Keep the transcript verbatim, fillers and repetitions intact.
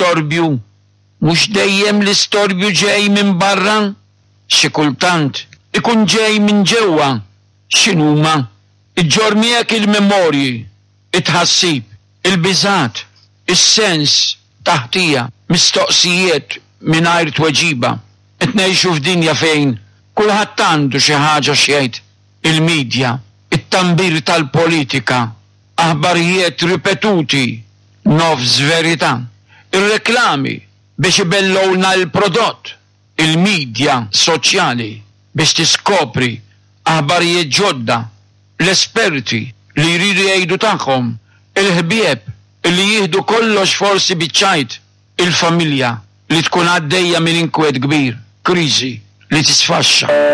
L-istorbju mhux dejjem l-istorbju ġej minn barra, xi kultant ikun ġej minn ġewwa. X'inhuma? Iġġorr miegħek il-memorji, it-tħassib, il-biżgħat, is-sens ta' ħtija, mistoqsijiet mingħajr tweġiba. Qed ngħixu f'dinja fejn kulħadd għandu xi ħaġa x'jgħid. Il-midja, it-tambir tal-politika, aħbarijiet ripetuti, nofs verità, ir-reklami biex ibellgħulna l-prodott, il-midja soċjali biex tiskopri aħbarijiet ġodda, l-esperti li jridu jgħidu tagħhom, il-ħbieb li jieħdu kollox forsi biċ-ċajt, il-familja li tkun għaddejja minn inkwiet kbir, kriżi li tisfaxxa.